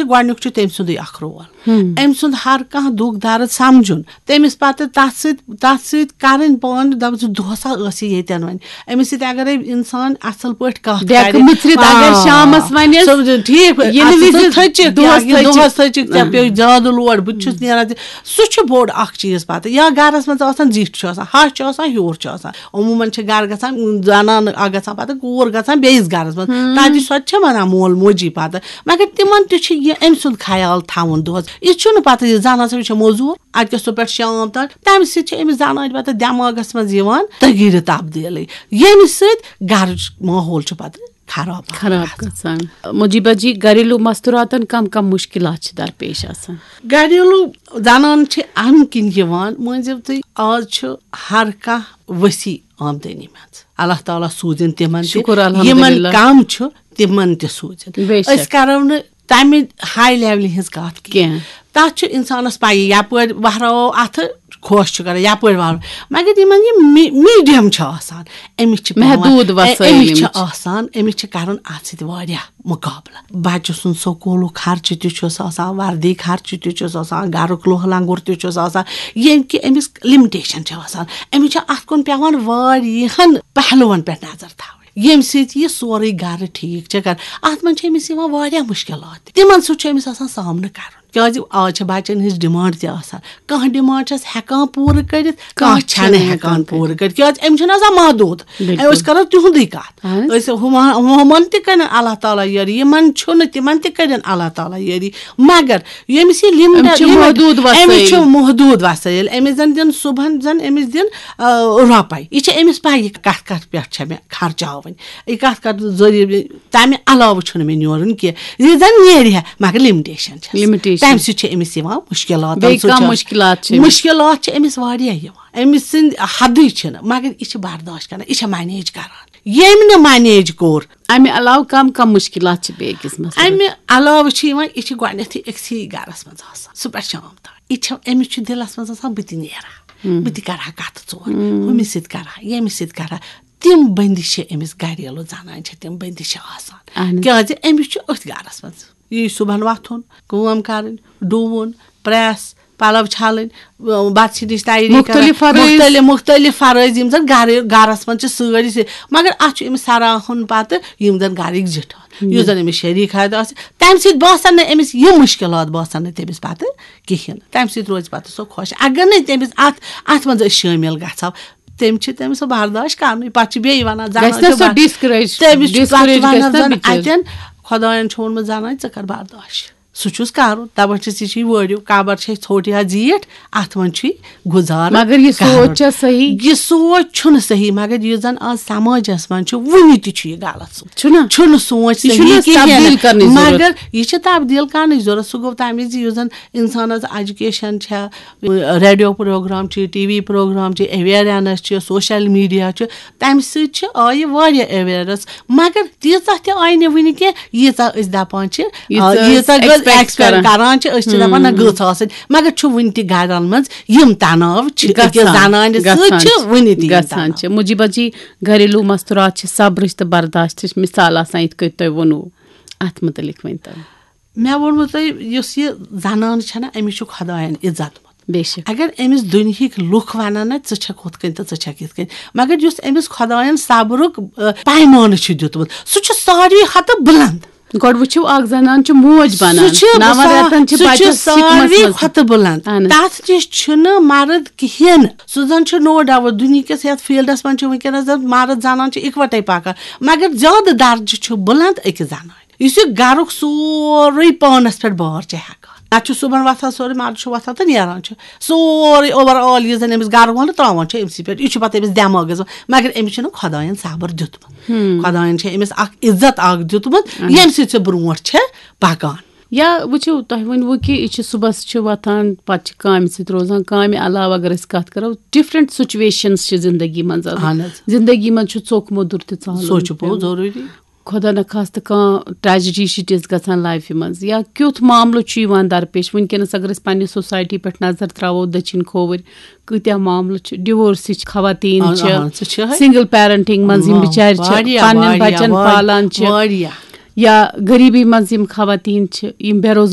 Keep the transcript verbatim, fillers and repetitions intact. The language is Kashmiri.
گۄڈٕنیُک چھُ تٔمۍ سُنٛدُے اکھ رول، أمۍ سُنٛد ہر کانٛہہ دُکھ درد سمجھُن، تٔمِس پتہٕ تتھ سۭتۍ تتھ سۭتۍ کرٕنۍ پانہٕ، دپُن زِ دۄہس ہا ٲس یہِ ییٚتٮ۪ن وۄنۍ، أمِس سۭتۍ اگرے انسان اصل پٲٹھۍ کتھ ڈیکہٕ کرِ، مٕژرِتھ اگر آ، شامس ونٮ۪س، سمجھُن، ٹھیٖک، ییٚلہِ اَتھ وِزِ ژٕ تھٔچِکھ، دۄہس یا یہِ تھٔچِکھ۔ دۄہس تھٔچِکھ، ژےٚ پیوٚو زیادٕ لوڈ، بہٕ تہِ چھُس نیران تہِ، سُہ چھُ بوٚڑ اکھ چیٖز پتہٕ۔ یا گرس منٛز آسان زِٹھۍ چھُ آسان، ہش چھُ آسان، ہیوٗر چھُ آسان، عموٗماً چھِ گرٕ گژھان، زنان اکھ گژھان پتہٕ کوٗر گژھان بیٚیِس گرس منٛز، تتہِ سۄ تہِ چھےٚ ونان مول موجی پتہٕ، مگر تِمن تہِ چھُ یہِ أمۍ سُنٛد خیال تھاوُن دۄہس۔ یہِ چھُنہٕ پتہٕ یہِ زنان سا، یہِ چھےٚ موٚزوٗر، اتہِ کیٛاہ سُہ پٮ۪ٹھ شام تام، تمہِ سۭتۍ چھِ أمِس زنانہِ پتہٕ دٮ۪ماغس منٛز یِوان تغیٖرِ تبدیٖلی، ییٚمہِ سۭتۍ گرٕچ ماحول چھُ پتہٕ خراب خراب گژھان۔ مجیبہ جی، گھریلو مستوراتن کم کم مشکلات چھِ درپیش آسان؟ گھریلو زنان چھِ امہِ کِنۍ یِوان، مٲنۍ زیو تُہۍ، آز چھُ ہر کانٛہہ وسیع آمدنی منٛز، اللہ تعالیٰ سوٗزِن تِمن تہِ، شُکُر الحمدللہ۔ یِمن کم چھُ تِمن تہِ سوٗزِن۔ بے شک۔ أسۍ کرو نہٕ تمہِ ہاے لیولہِ ہٕنٛز کتھ کینٛہہ۔ کینٛہہ۔ تتھ چھُ انسانس پَیی، یپٲرۍ وہراوو اتھٕ، خۄش چھُ کران، یپٲرۍ وہراوو۔ مگر یِمن یہِ می-، میٖڈیم چھُ آسان، أمِس چھِ پٮ۪وان، محدوٗد وسٲیِل أمِس چھِ یِم چھِ۔ آسان، أمِس چھِ کرُن اتھ سۭتۍ واریاہ مُقابلہٕ۔ بچہٕ سُنٛد سکوٗلُک خرچہٕ تہِ چھُس آسان، وردی خرچہٕ تہِ چھُس آسان، گرُک لوہ لنگُر تہِ چھُس آسان، ییٚمہِ کہِ أمِس لِمٹیشن چھِ آسان۔ أمِس چھِ اتھ کُن پٮ۪وان واریاہن پہلوَن پٮ۪ٹھ نظر تھاوٕنۍ، ییٚمہِ سۭتۍ یہِ سورُے گرٕ ٹھیٖک چھِ کران۔ اتھ منٛز چھِ أمِس یِوان واریاہ مُشکِلات تہِ۔ تِمن سۭتۍ چھُ أمِس آسان سامنہٕ کرُن۔ کیازِ آز چھِ بچن ہٕنٛز ڈیمانڈ تہِ آسان۔ کانٛہہ ڈیمانڈ چھَس ہٮ۪کان پوٗرٕ کٔرِتھ، کانٛہہ کانٛہہ چھَنہٕ چھَنہٕ ہٮ۪کان ہٮ۪کان پوٗرٕ کٔرِتھ۔ کیازِ أمِس چھُنہٕ آسان محدوٗد۔ بِلکُل۔ أسۍ کرو تِہُنٛدُے کتھ۔ اہن حظ۔ أسۍ ہُمن، ہُمن تہِ کٔرِن اللہ تعالیٰ یٲری، یِمن چھُنہٕ، تِمن تہِ کٔرِن اللہ تعالیٰ یٲری۔ مگر ییٚمِس یہِ لِمٹ، أمِس چھِ لِمٹ، محدوٗد أمِس چھِ وسٲیِل۔ محدوٗد وسٲیِل۔ أمِس زن دِن صُبحن، زن أمِس دِن، آ، رۄپے۔ یہِ چھِ أمِس پَے، یہِ کتھ کتھ پٮ۪ٹھ چھےٚ مےٚ خرچاوٕنۍ، یہِ کتھ کتھ ذٔریعہٕ مےٚ، تمہِ علاوٕ چھُنہٕ مےٚ نیرُن کینٛہہ۔ یہِ زن نیرِ ہا، مگر لِمٹیشن چھس۔ لِمٹیشن۔ تمہِ سۭتۍ چھِ أمِس یِوان مُشکِلات، بیٚیہِ تمہِ سۭتۍ کانٛہہ چھِ مُشکِلات چھِ أمِس؟ مُشکِلات چھِ أمِس واریاہ یِوان۔ أمِس سٕنٛدۍ حدٕے چھِنہٕ، مگر یہِ چھِ برداشت کران، یہِ چھِ مینیج کران۔ ییٚمۍ نہٕ مینیج کوٚر۔ امہِ علاوٕ کم کم مُشکِلات چھِ بیٚیہِ أکِس مسلس؟ امہِ علاوٕ چھِ یِوان، یہِ چھِ گۄڈٕنیتھٕے أکسٕے گرس منٛز آسان، صُبحس شام تام۔ یہِ چھِ، أمِس چھُ دِلس منٛز آسان، بہٕ تہِ نیرٕ ہا، بہٕ تہِ کرٕ ہا کتھٕ ژور، ہُمِس سۭتۍ کرٕ ہا، ییٚمِس سۭتۍ کرٕ ہا۔ تِم بندش چھِ أمِس، گریلو زنانہِ چھِ تِم بندش چھِ آسان۔ اہن حظ۔ کیازِ أمِس چھُ أتھۍ گرس منٛز، یہِ صُبحن وۄتھُن، کٲم کرٕنۍ، ڈُوُن، پریس، پلو چھلٕنۍ، بتہٕ سِنِچ تیٲری کرٕنۍ، مُختٔلِف فرٲیض۔ مُختٔلِف، مُختٔلِف فرٲیض یِم زن گرِ، گرس منٛز چھِ سٲری سۭتۍ۔ مگر اتھ چھُ أمِس سراہُن پتہٕ یِم زن گرٕکۍ زِٹھ آسان، یُس زن أمِس شریٖک حیات آسہِ، تمہِ سۭتۍ باسان نہٕ أمِس یِم مُشکِلات باسان نہٕ تٔمِس پتہٕ کِہیٖنۍ۔ تمہِ سۭتۍ روزِ پتہٕ سۄ خۄش۔ اگر نہٕ تٔمِس اتھ، اتھ منٛز أسۍ شٲمِل گژھو، تٔمِس چھِ، تٔمِس سۄ برداشت کرنُے۔ پتہٕ چھِ بیٚیہِ ونان، زنان گژھِ نہ چھِ سۄ بر-، discourage، تٔمِس چھِ پتہٕ discourage گژھِ ونان نہ زن بِچٲرۍ۔ اتٮ۪ن، خۄداین چھُ ووٚنمُت، زنان، ژٕ کر برداشت۔ سُہ چھُس کرُن۔ دپان چھِس، یہِ چھِ وٲرِو، قبر چھِ ژھوٚٹ یا زیٖٹھ، اتھ منٛز چھُ گُزارٕ مگر یہِ سونچ کرُن۔ چھا صحیح؟ یہِ سونچ چھُنہٕ صحیح، مگر یُس زن آز سماجس منٛز چھُ، وُنہِ تہِ چھُ یہِ غلط سونچ۔ چھُنہ؟ چھُنہٕ سونچ یہِ صحیح چھُنہٕ کِہیٖنۍ۔ تبدیل کرنٕچ ضروٗرت۔ مگر یہِ چھِ تبدیل کرنٕچ ضروٗرت۔ سُہ گوٚو تمہِ وِزِ، یُس زن انسانس ایجوکیشن چھےٚ، ریڈیو پروگرام چھِ، ٹی وی پروگرام چھِ، اویرنس چھِ، سوشل میڈیا چھُ، تمہِ سۭتۍ چھِ، آیہِ واریاہ اویرنس۔ مگر تیٖژاہ تہِ آیہِ نہٕ وُنہِ کینٛہہ، ییٖژاہ أسۍ دپان چھِ، ییٖژاہ آ، أسۍ ییٖژاہ أسۍ أسۍ expect expect کران۔ کران چھِ، أسۍ چھِ دپان، نہ، ہُم۔ گٔژھ آسٕنۍ۔ مگر چھُ وُنہِ تہِ گرن منٛز یِم تناو چھِ، أکِس گژھان، زنانہِ سۭتۍ گژھان چھِ چھِ، وُنہِ تہِ یِم گژھان تناو۔ چھِ۔ مجیبہ جی، گھریلو مستورات چھِ صبرٕچ تہٕ برداشتٕچ مثال آسان، یِتھ کٔنۍ تۄہہِ ووٚنوُ۔ اتھ متعلق ؤنۍ تو۔ مےٚ ووٚنمُ تۄہہِ، یُس یہِ زنان چھےٚ نہ، أمِس چھُ خۄداین عزت۔ بے شک۔ اگر أمِس دُنہِکۍ لُکھ ونن نہ، ژٕ چھکھ ہُتھ کٔنۍ تہٕ ژٕ چھکھ یِتھ کٔنۍ، مگر یُس أمِس خۄداین صبرُک، آ، پیمانہٕ چھُ دیُتمُت، سُہ چھُ ساروی کھۄتہٕ بُلند۔ گۄڈٕ وٕچھِو، اکھ زنان چھِ موج بنان، سُہ چھُ نون سا-، رٮ۪تن چھِ سُہ چھُ بچس سِکمس ساروی منٛز۔ کھۄتہٕ بُلند۔ اہن۔ تتھ نِش چھُنہٕ مرد کِہیٖنۍ۔ سُہ زن چھُ no doubt، دُنہِکِس یتھ فیلڈس منٛز چھِ وٕنکیٚنس زن مرد زنان چھِ اکوٹے پکان، مگر زیادٕ درجہٕ چھُ بُلند أکِس زنانہِ۔ یُس یہِ گرُک سورُے پانس پٮ۪ٹھ بار چھِ ہٮ۪کان۔ نتہٕ چھُ صُبحن وۄتھان سورُے، مرد چھُ وۄتھان تہٕ نیران چھُ۔ سورُے overall یُس زن أمِس گرٕ وول تراوان چھُ أمسٕے پٮ۪ٹھ، یہِ چھُ پتہٕ أمِس دٮ۪ماغس منٛز۔ مگر أمِس چھُنہٕ خۄداین صبر دیُتمُت۔ خۄداین چھِ أمِس اکھ عزت اکھ دیُتمُت، ییٚمہِ سۭتۍ سُہ برونٛٹھ چھِ پکان۔ یا وٕچھِو، تۄہہِ ؤنوُ کہِ یہِ چھِ صُبحس چھِ وۄتھان، پتہٕ چھِ کامہِ سۭتۍ روزان۔ کامہِ علاوٕ اگر أسۍ کتھ کرو، different situations چھِ زندگی منٛز آسان۔ اہن حظ۔ زندگی منٛز چھُ ژوٚک موٚدُر تہِ ژالُن سُہ چھُ پوٚز پیوان۔ ضروٗری۔ خۄدا نخواستہٕ کانٛہہ tragedy چھِ تِژھ گژھان لایفہِ منٛز، یا کیُتھ معاملہٕ چھُ یِوان درپیش۔ وٕنکیٚنَس اگر أسۍ پنٛنہِ society پٮ۪ٹھ نظر ترٛاوو، دٔچھِنۍ کھووٕرۍ کۭتیٛاہ معاملہٕ چھِ، divorce چھِ، خواتین اہن، چھِ، اہن، سُہ چھِ۔ Single parenting منٛز یِم واہ، بِچارِ چھِ واریاہ، پنٛنٮ۪ن واریاہ، بچن واریاہ، پالان چھِ، واریاہ۔ یا غریٖبی منٛز یِم خواتین چھِ، یِم بے روزگار